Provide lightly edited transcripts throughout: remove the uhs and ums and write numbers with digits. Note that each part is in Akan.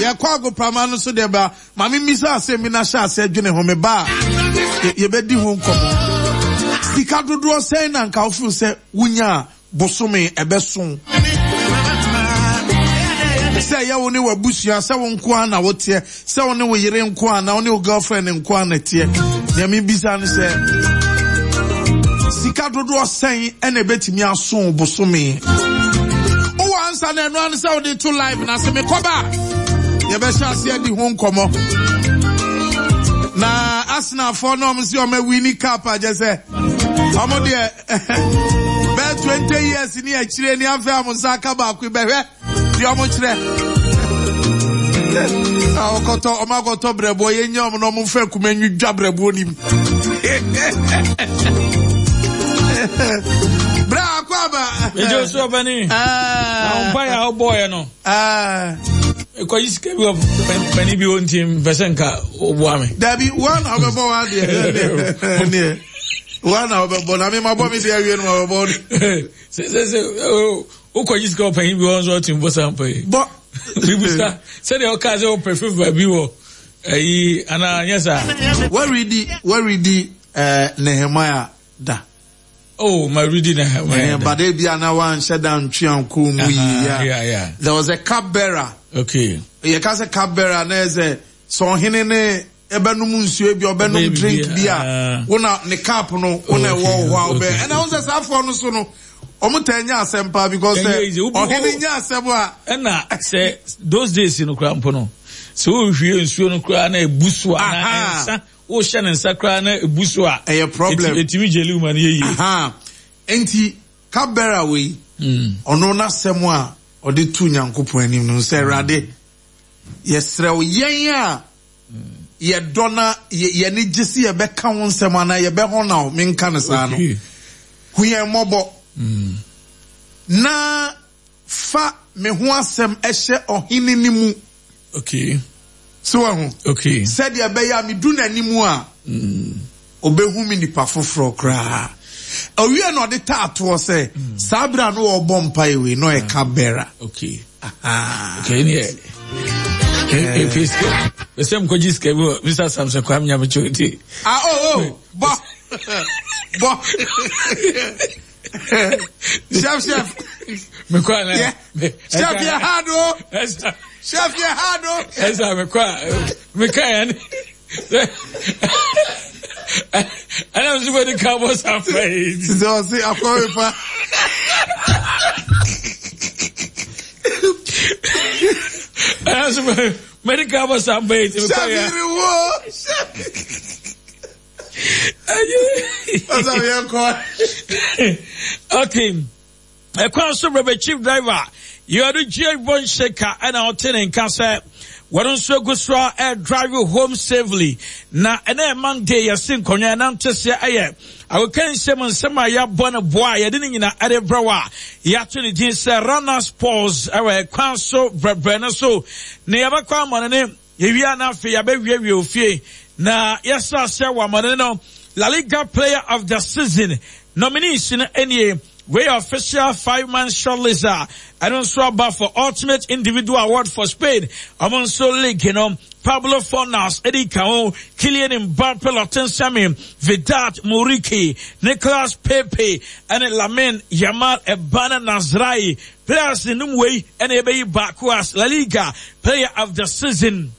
Yɛkɔ agoprama no so deɛ ba ma me mmisa asɛm bi na hyɛ aseɛ dwene ho me ba a yɛbɛdi ho nkɔmmɔ. Sika dodoɔ sɛn na nka wofeel sɛ wonya a bosome ɛbɛso? Sɛ ɛyɛ wo ne w'abusua, sɛ wo nko ara na woteɛ, sɛ wo ne wo yere nko ara na wo ne wo girlfriend nko ara na ɛteɛ. Nea mebisa ne sɛ, sika dodoɔ sɛn ɛna ɛbɛtumi aso bosome? Wowɔ ansa na ɛno ano sɛ wode to live na sɛ mekɔba a, yɛbɛhyɛ ase adi ho nkɔmmɔ. Na Arsenalfoɔ no ɔmo sɛ ɔmo awini cup agyɛ sɛ ɔmo deɛ bɛyɛ 20 years ni akyire ni afei a mo nsa aka baako bɛhwɛ deɛ ɔmo kyerɛ ɔkɔtɔ ɔmo akɔtɔ brɛboɔ yɛn nyɛ ɔmo na ɔmo nfa kuma nwidwa brɛboɔ nim brɛ akɔ aba. Ɛjɛ osu ɔbɛni. Na ɔmpa yɛ a ɔbɔ yɛ no. Ɛkɔyi sika bi wɔ panin bi hɔ nti mpɛ sɛ nka ɔboa me. Dabi wɔn na ɔbɛbɔ wɔn adeɛ ɛneɛ wɔn na ɔbɛbɔ na mi ma bɔ mi deɛ awie no ma bɛbɔ. Sɛ sɛ sɛ wokɔgye sika wɔ panyin bi hɔ nso ɔtumi bɔ saa mpa yi. Bɔ. Bibusa sɛdeɛ ɔkaa sɛ ɔpɛ favour bi wɔ ayi anaa nyɛ saa. Wɔredi wɔredi ɛɛ Nehemiah da. Oh, ma redi Nehemiah. Eh, but ebi ana wanhyɛ da ntwe anko mu yi. Yeah. There was a cup bearer. Okay. Yɛ ka sɛ cup bearer na yɛ sɛ sɛ ɔhene ne ɛbɛnom nsuo bi ɔbɛnom drink bi a wo na ne cup no wo na ɛwɔ hɔ a wobɛ ɛna wo sɛ saa afoɔ no so no wɔn taa nya asɛm paa because sɛ ɔhene nya asɛm a. Ɛna sɛ those days no koraa mpo no sɛ wohwie nsuo no koraa na ebu so a na nsa wohyɛ ne nsa koraa na ebu so a. Ɛyɛ problem. Etimi gyeli ma no yɛ yie. Nti cup bearer wei ɔno n'asɛm a ɔde to Nyankopɔn anim no sɛ Awurade yɛsrɛ wo yɛn a yɛdɔ na yɛn ani gye sɛ yɛbɛka wo nsɛm anaa yɛbɛhɔna wo, menka no saa no, hu yɛn mmɔbɔ na fa me ho asɛm hyɛ ɔhene no mu. Okay. So wahu? Okay. Sɛdeɛ ɛbɛyɛ a medu n'anim a, ɔbɛhu me nipa foforɔ koraa. Owie na ɔde taa toɔ sɛ, saa berɛ a na ɔrebɔ mpaeɛ wei na ɔyɛ cup bearer. Okay. Okay, ne yɛ. Efi sika. Bɛsɛ mkɔgye sika bi wɔ Mr. Samson Kwame Nyamekyɛ nti. Ah, oh, oh, bɔ. Bɔ. Chef, chef. Mekɔ ana? Yeah. Chef, yɛ hard o. Chef, yɛ hard o. Ɛsɛ mekɔ a, meka yɛ ne. Ɛna nso bɛ de ka bɔ sanfɛ yi. Sɛ ɔse akɔwe pa. Ɛna nso bɛ de ka bɔ sanfɛ yi. Sɛfiri wo. Ɔsɛ yɛ kɔ. Okay. Ɛkwan so brɛbɛ chief driver Yɛde G.H. Bonsheka ɛna ɔte ne nka sɛ wɔn nso egu so a ɛredrive home safely na ɛnɛ Monday yɛsi nkonnwa ɛnante seɛ ɛyɛ agokansie mu nsɛm a yɛabɔ no boa a yɛde ne nyina ɛde brɛ wɔ a yɛato ne din sɛ runners pause ɛwɔ ɛkwan so brɛbrɛ no so na yɛbɛkɔ amɔne Yɛwie a na afei yɛabɛwiewie ofie na yɛhyɛ aseɛ wɔ amane no La Liga Player of the Season nominees no nie. Wei yɛ official five-man shortlist a ɛno nso aba for Ultimate Individual Award for Spain. Wɔn nso league no Pablo Fornals edi ka ho, Kylian Mbappe, Lottin Semi, Vedat Muriqi, Nicolas Pepe, ɛne Lamine Yamal Ebana Nasraoui. Players no mu wei na yɛbɛyi baako as La Liga Player of the Season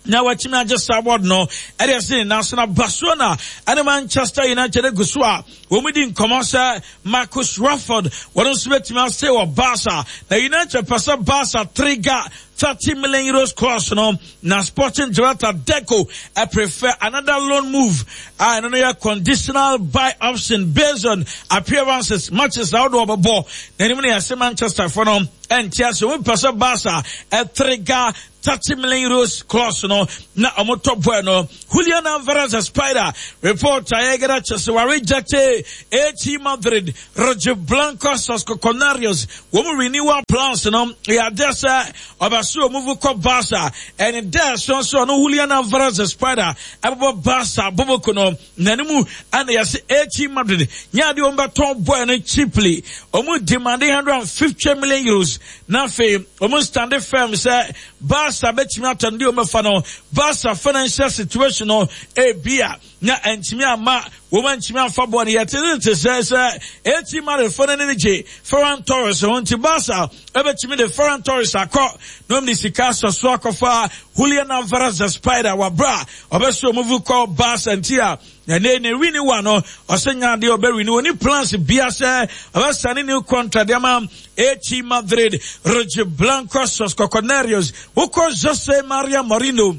na watumi agye saa award no ɛde asi ne nan so na Barcelona ɛne Manchester United agu so a wɔn di nkɔmɔ sɛ Marcus Rashford wɔn nso bɛtumi ase wɔ Barca na United pɛ sɛ Barca trigger 30 million euros clause no na Sporting director Deco I prefer another loan move a ɛno no yɛ conditional buy option based on appearances matches ahodoɔ ɔbɛbɔ n'anim no yɛse Manchester fo no ɛnte ase wɔn pɛ sɛ Barca ɛtrigger 30 million euros clause no na wɔn tɔ boy no Julian Alvarez Spider report a yɛgɛda kyɛ sɛ wɔarejecte AT Madrid Rojiblancos Canarios wɔn renewal plans no yɛ adeɛ sɛ ɔbɛ. Ɔbɛsɛ ɔmuvu kɔ Barca ɛne dɛ ɛso nso ɔno Julian Alvarez the Spider ɛbɛbɔ Barca boboko no n'anim ɛna yɛse AC Madrid nyɛ adeɛ wɔn bɛtɔn boy no cheaply. Wɔn demand 150 million euros na afei wɔn stand firm sɛ Barca bɛtumi atɔ no deɛ wɔn bɛfa no. Barca financial situation no ebia na antumi amma wɔn antumi amfa bɔɔl no. Yɛte te sɛ sɛ AC Madrid fo no ne gye Ferran Torres ho nti Barca ɛbɛtumi de Ferran Torres akɔ na wɔn de sika asɔ so akɔfa Julian Alvarez the Spider wabra ɔbɛsɛ wɔn vu kɔ Barca nti a ɛnɛ ne renewal no ɔsɛ nya adeɛ ɔbɛ renew oni plans bia sɛ ɔbɛsa ne new contract de ama AC Madrid. Roger Blanco Sos Coconarios wokɔ Jose Maria Mourinho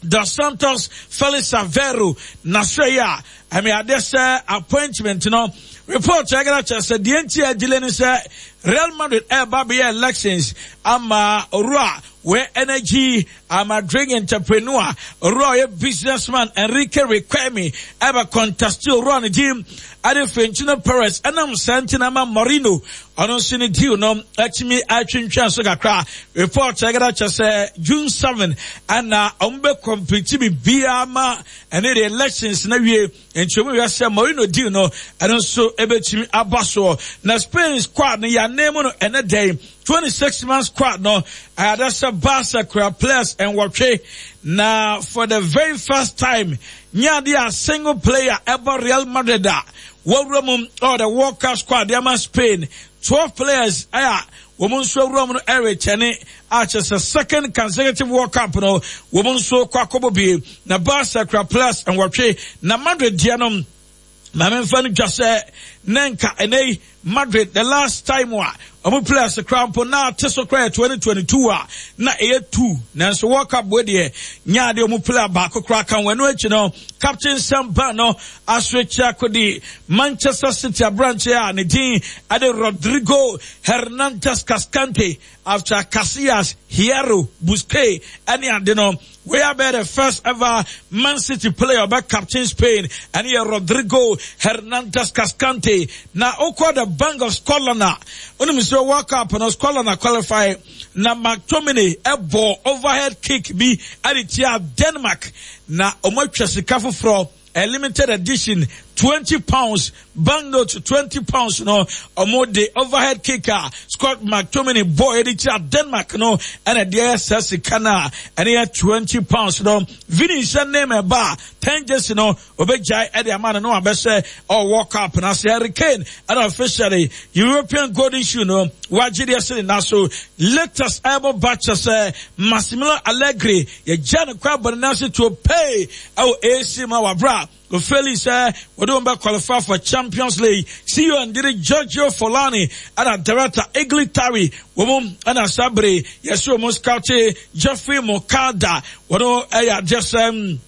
Dos Santos Felix Aveiro n'asoɛeɛ a ɛmɛ adeɛ sɛ appointment no report ɛgana kyerɛ sɛ deɛ nti a delay ne sɛ Real Madrid ɛreba bɛyɛ elections ama owura wɛ energy ama drink entrepreneur owura ɔyɛ businessman Enrique Riquelme ɛbɛ contest owura ne din ɛde Florentino Perez ɛnam saa nti na ama Mourinho Ɔno nso ne deal no atumi atwentwɛn so kakra. Report ɛkɛda kyɛ sɛ June 7 ɛna wɔn bɛ complete biribiara ma ɛne the elections na wie. Nti wɔn wia sɛ Mourinho deal no ɛno nso ɛbɛtumi aba soɔ. Na Spain squad no yɛanan mu no ɛnɛ dɛn 26 man squad no ɛyada sɛ Barca kura players nwɔtwe na for the very first time nyɛ adeɛ a single player ɛbɔ Real Madrid a Wɔawura mu wɔ the World Cup squad de ama Spain. 12 players a wɔn nso awura mu no ɛrekyɛne a kyerɛ sɛ second consecutive World Cup no wɔn nso kɔ akɔbɔ bie. Na Barca kura players nwɔtwe na Madrid deɛ no maame nfa no dwa sɛ na nka ɛnɛ yi Madrid the last time a wɔn players koraa mpo na ate so koraa yɛ 2022 a na ɛyɛ two nanso World Cup wei deɛ nyaa deɛ wɔn player baako koraa ka wɔn ɛno akyi no captain Sam Ban no asoɛkyi akɔdi Manchester City aberanteɛ a ne din ɛde Rodrigo Hernandez Cascante after Casillas, Hierro, Busquets ɛne ade no. Wei abɛyɛ the first ever Man City player ɔbɛ captain Spain ɛne yɛ Rodrigo Hernandez Cascante. Na okɔ the Bank of Scotland a onim sɛ World Cup no Scotland a qualify na McTominay ɛbɔ overhead kick bi ɛde tia Denmark na wɔn atwa sika foforɔ A limited edition £20 banknote £20 no ɔmo de overhead kick a Scott McTominay bɔɔ yɛde kyerɛ Denmark no ɛna deɛ ɛyɛ saa sika no a ɛne yɛ £20 no. Vini nhyɛ name ɛba a 10 jersey no obegyae ɛde ama no na wabɛhyɛ ɔwɔ cup no ase. Harry Kane ɛna officially European Golden Shoe no wagye deɛ ɛhyɛ ne nan so. Latest ɛbɔ ba kyɛ sɛ Massimiliano Allegri yɛgya no kwan bɔ ne nan ase tuo pay ɛwɔ AC mu a wabra ofeli sɛ wɔde wɔn bɛ qualify for Champions League. CEO ndiri Giorgio Folani ɛna director Igli Tari wɔn mu ɛna saa bere yɛsɛ wɔn scout Geoffrey Mokada wɔn ɛyɛ adeɛ sɛ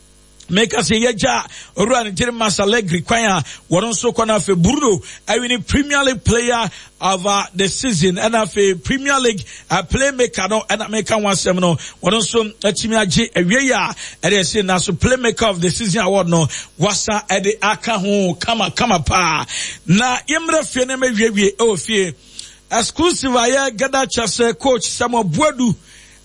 meka sɛ yɛgya owura ne gyere Max Allegri kwan a wɔn nso kɔ no afei Bruno ɛwini Premier League player of the season ɛna afei Premier League playmaker no ɛna meka ho asɛm no wɔn nso atumi agye awie yi a ɛde ɛsi na so playmaker of the season award no wasa ɛde aka ho kama kama paa na yɛmmerɛ fie na mɛwiewie ɛwɔ fie exclusive a yɛgada kyɛ sɛ coach Samuel Boadu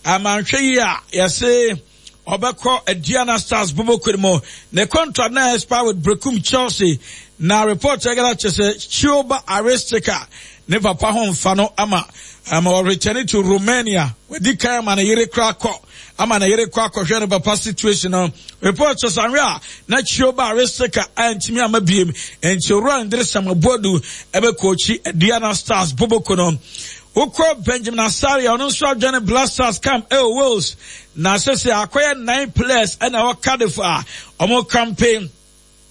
amanhwɛ yi a yɛse Ɔbɛkɔ Aduana Stars bobɔkuo no mu. Ne contract na expire with Berekum Chelsea. Na report ɛgana kyerɛ sɛ Chioba Aristica ne papa ho mfa no ama ama ɔreturn to Romania. Wadi kan ama ne yere kora kɔ ama ne yere kɔ akɔhwɛ ne papa situation no. Report kyerɛ sɛ anwɛ a na Chioba Aristica antumi ama biem. Nti Owura Ndere Samuel ɛbɛkɔɔkyi Aduana Stars bobɔkuo no. Wokɔ Benjamin Asare a ɔno nso adwane Black Stars camp ɛwɔ Wales na sese akɔyɛ nine players ɛna ɛwɔ Cardiff a wɔn campaign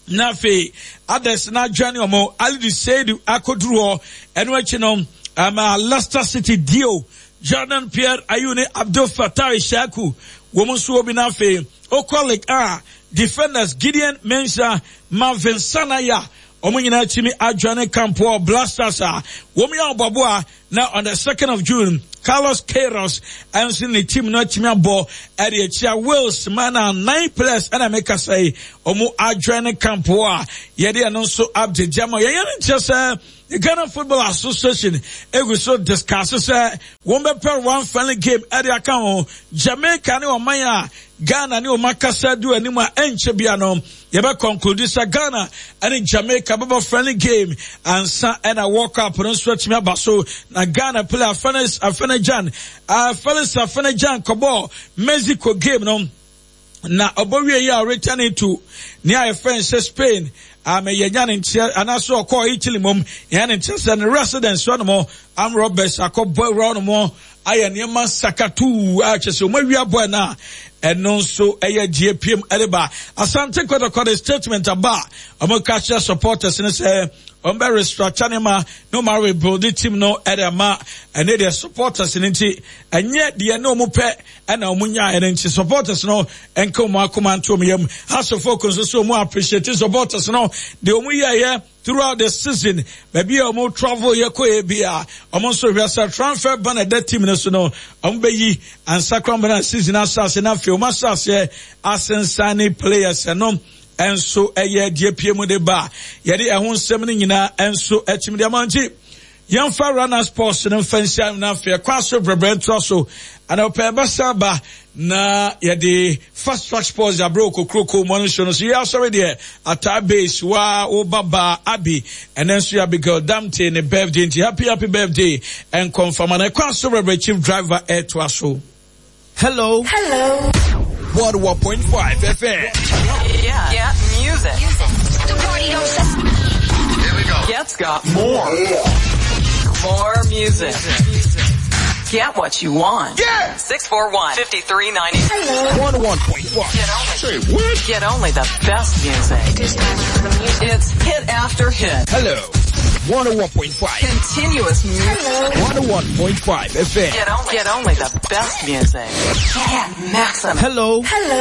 na afei others na adwane wɔn Alidu Seidu akɔduru hɔ ɛno akyi no ama Leicester City dio Jordan Pierre Ayew ne Abdul Fattah Ishaku wɔn nso wɔ bi na afei okɔ League A defenders Gideon Mensah Marvin Sanaya wɔn nyinaa tumi adwane camp wɔ Black Stars a wɔn yɛ ɔbɔboa na on the second of June. Carlos Queiroz nso ne team no atumi abɔ ɛde akyia Wales man a nine players ɛna mekasa yi wɔn adjoin ne camp hɔ a yɛde ɛno nso update gyama yɛn yɛn nkyerɛ sɛ the Ghana Football Association egu so discuss sɛ wɔn bɛpɛ one friendly game ɛde aka ho Jamaica ne ɔman a Ghana ne wɔn akasa du anim a ɛnkyɛ bia no Yɛbɛ conclude sɛ Ghana ne Jamaica bɛbɔ friendly game ansa ɛna World Cup no nso atumi aba so. Na Ghana player Felix Afena-Gyan, uh, Felix Afena-Gyan kɔbɔɔ Mexico game no na ɔbɔ wie yi a returning to nea yɛfrɛ no sɛ Spain ama yɛnya ne nteɛ anaasɛ ɔkɔɔ Italy mom yɛnya ne nteɛ sɛ ne residence hɔ nom am Roberts akɔbɔ awura hɔ nom ayɛ nneɛma sakatuu a kyerɛ sɛ wɔn awia bɔɛ no a ɛno nso ɛyɛ gye piem ɛde ba Asante Kɔtɔkɔ de statement aba a wɔn ka kyerɛ supporters no sɛ wɔn bɛ restructure ne ma na wɔn rebuild team no ɛde ama ɛne deɛ supporters no nti ɛnyɛ deɛ ne wɔn pɛ ɛna wɔn nya ɛne nti supporters no ɛnka wɔn akoma nto wɔn yam asofo nso so wɔn appreciate supporters no deɛ wɔn yɛɛyɛ Throughout the season, baabi a wɔn travel yɛ kɔ yɛ bi a, wɔn nso hwɛ sɛ transfer ban ɛda team no so no, wɔn bɛyi ansa koraa wɔn season ahyɛ ase na afei wɔn ahyɛ aseɛ asensan ne players ɛno nso ɛyɛ deɛ pie mu de ba yɛde ɛho nsɛm no nyinaa nso akyim de ama nti Yɛmfa Runner Sports no mfa nhyia na afei ɛkwan so brɛbrɛ ntoa so. Anɔpa yɛbɛsan aba na yɛde Fast Track Sports de abrɛ okokuroko mu ɔno nso no so yɛ asɔre deɛ ataa base wa wo babaa Abi ɛnɛ nso yɛ Abigail Damte ne birthday nti happy happy birthday nkɔmfama na ɛkwan so brɛbrɛ chief driver ɛtoa so. Hello. Hello. 101.5 FM. Yeah. Yeah. Music. Music. The party don't stop. Here we go. Get's got more. Yeah. More music. Get what you want. Yeah. 641 5390. Hello. 101.5. Get only. Say what? Get only the best music. It is time for the music. It's hit after hit. Hello. 101.5. Continuous music. Hello. 101.5 FM. Get only, get only the best music. Get maximum. Hello. Hello.